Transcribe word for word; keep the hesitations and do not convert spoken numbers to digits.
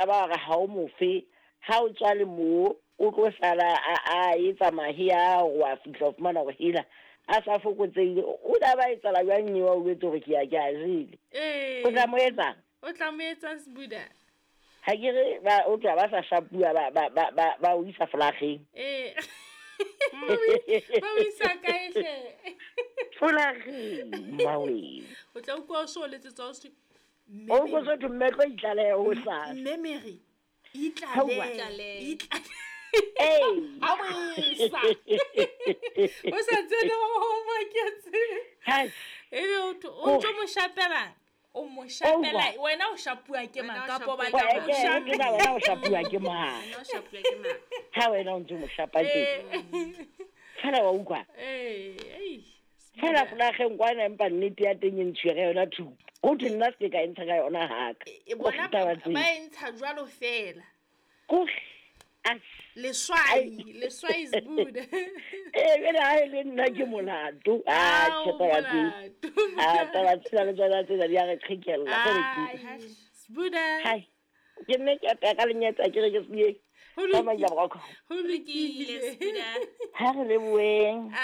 Ba re ha o mofe ha o tswa le moo o tlo sala a a etsa mahe a wa fihla o fumana hore hela a sa fokotsehile. O tla ba etsala jwang eo o jwetse hore ke ya ke a jele? Ee. O tla mo etsang? O tla mo etsang, Sbuda? Ha ke re ba o tla ba sa shapuwa, ba ba ba ba ba o isa flageng. Ee, ba o isa kae hle? Flageng mawe. O tla utlwa o so letsetsa o se O ko so mme tlo itlaleha ho sasa. Mme Mary Hawa. itlale itlale. Ee. A boesa o sa tsene ho maketse. Hai. Ebe o tho- o ntso mo shapela, o mo shapela, wena o shapuwa ke mang Wena o kapo shapuwa batla ke o Wa- ke- ke na shapela? wena o shapuwa ke mang? Wena o shapuwa ke mang? Ha wena o ntse o mo shapa teng fela wa utlwa. Ee, ei, Fela flageng kwana, empa nnete ya teng e ntshuwe ka yona thupa, ho thwe nna se ke ka e ntsha ka yona haka. E bona taba ba tseo. e ntsha jwalo fela. Kore as Leswai, leswai, Sbuda. Ee, jwale ha e le nna ke molato. Ah, Ao, tjhe, taba tseo. molato. Ah, taba tsena le tsona tsena di a re qhekella. Ke re ke- Ai, Sbuda. Hai, ke nne ke apeya ka lenyatsa, ke re ke se Ho ka manja lokile. boroko. Ho lokile. Sbuda. Ha re leboheng.